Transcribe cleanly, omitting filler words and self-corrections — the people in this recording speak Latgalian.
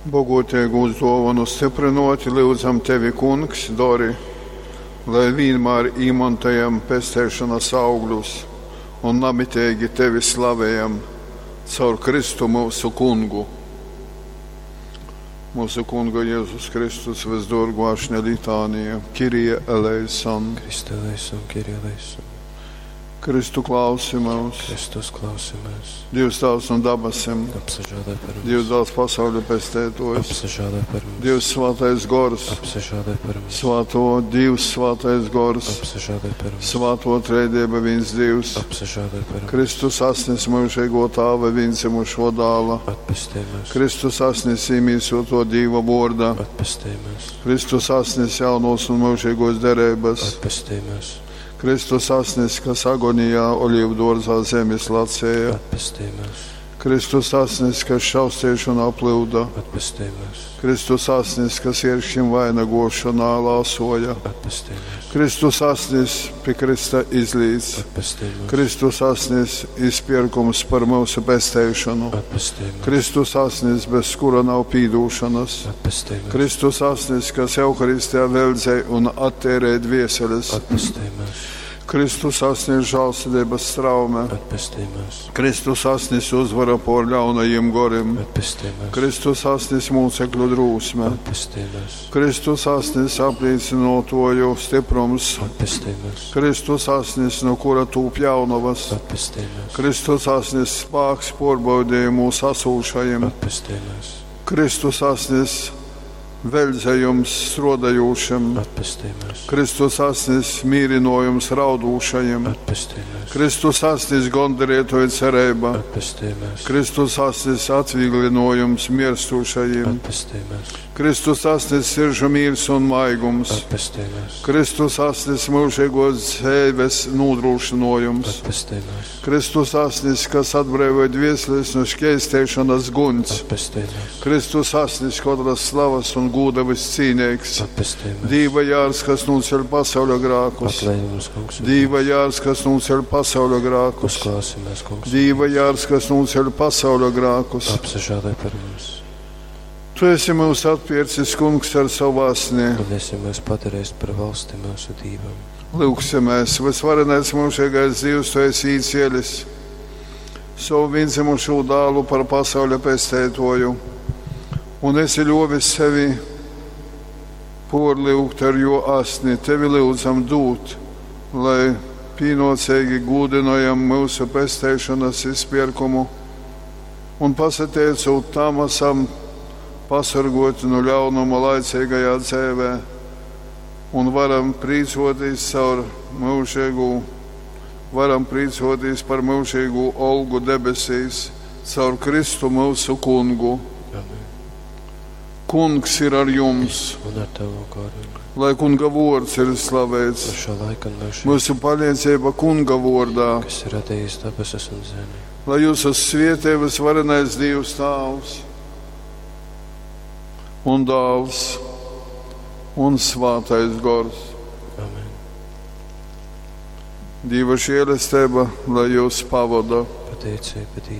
Boguoteigūs duovonu styprynuoti, lyudzam Tevi, Kungs, dori, lai vīnmār īmontojam pesteišonas augļus un namiteigi Tevi slavejam caur Kristu myusu Kungu. Mūsu Kunga Jēzus Kristus vysduorguo ašņa litānija, Kyrie eleison. Christe eleison, Kyrie eleison. Kristu klausi mūs, Kristus klausi mūs. Dievs Tēvs no dabasim, Apsažēlē par mums. Dievs dāls pasauļa pestētojs, Apsažēlē par mums. Dievs svētais gors, Apsažēlē par mums. Svāto Dievs svētais gors, Apsažēlē par mums. Svāto trejdieba viens Dievs, Apsažēlē par mums. Kristus asnis mūžīgo tāva viendzimušo dāla, Atpestī mūs. Kristus asnis īmīsoto Dīva vorda, Atpestī mūs. Kristus asnis jaunos un mūžīgos derības, Atpestī mūs. Kristus asnis, kas agonijā olīvu dārzā zemes lacēja, Atpestī mūs. Kristus asnis, kas šaustīšanā plūda, Atpestī mūs. Kristus asnis, kas ieršķim vainagošanā lāsoja, Atpestī mūs. Kristus asnis pie Krista izlīdz, Atpestī mūs. Kristus asnis izpirkums par mūsu pesteišanu, Atpestī mūs. Kristus asnis, bez kura nav pīdūšanas, Atpestī mūs. Kristus asnis, kas Euharistijā veldzē un attērē dvieseles, Atpestī mūs. Kristus asnis žālsirdības straume, Atpestī mūs. Kristus asnis uzvara pār ļaunajiem gorim, Atpestī mūs. Kristus asnis mūcekļu drūsme, Atpestī mūs. Kristus asnis apliecinotoju stiprums, Atpestī mūs. Kristus asnis, no kura tūp jaunavas, Atpestī mūs. Kristus asnis spāks porbaudījumu sasūšajiem, Atpestī mūs. Kristus asnis veļdzējums strodajūšiem, Atpestī mūs. Kristus asnis mīrinojums raudūšajiem, Atpestī mūs. Kristus asnis gondarētoja cerība, Atpestī mūs. Kristus asnis atvieglinojums mirstūšajiem, Atpestī mūs. Kristus asnis siržu mīrs un maigums, Atpestī mūs. Kristus asnis mūžīgos dzīves nodrošinojums, Atpestī mūs. Kristus asnis, kas atbrīvoja dvieseles no šķēstēšanas guns, Atpestī mūs. Kristus asnis katras slavas un gūda viscīnīgs, Atpestī mūs. Dīva jārs, kas nuceļ pasauļa grākus, Atlaid mums, kungs, un Dīva jārs, kas nuceļ pasauļa grākus, Uzklausi mūs, kungs. Dīva jārs, kas nuceļ pasauļa grākus. Apsažēlē par mums. Tu esi mūs atpircis, kungs, ar savu asni. Un esi mūs padarījis par valsti mūsu Dīvam. Lūksimies, visvarenais mūžīgais Dievs, tu esi īcielis savu vienzimušo dālu par pasauļa pestētoju, un esi ļovis sevi porliugt ar jo asni, tevi lūdzam dūt, lai pīnocīgi gūdinojam mūsu pestēšanas izpirkumu un pasateicot tam esam pasargoti no ļaunuma laicīgajā dzīvē un varam prīcoties caur mūžīgu, varam prīcoties par mūžīgu olgu debesīs caur Kristu mūsu kungu. Amen. Kungs ir ar jums, Un ar tavu goru. lai kunga vārds ir slavēts. No šā laika un mūžīgi, Mūsu palīdzība kunga vārdā, kas ir radījis debesis un zemi. lai jūs svietē visvarenais Dievs Tāvs un Dāls un Svātais Gors. Amen. Dieva žēlastība, lai jūs pavada. Pateicība Dievam.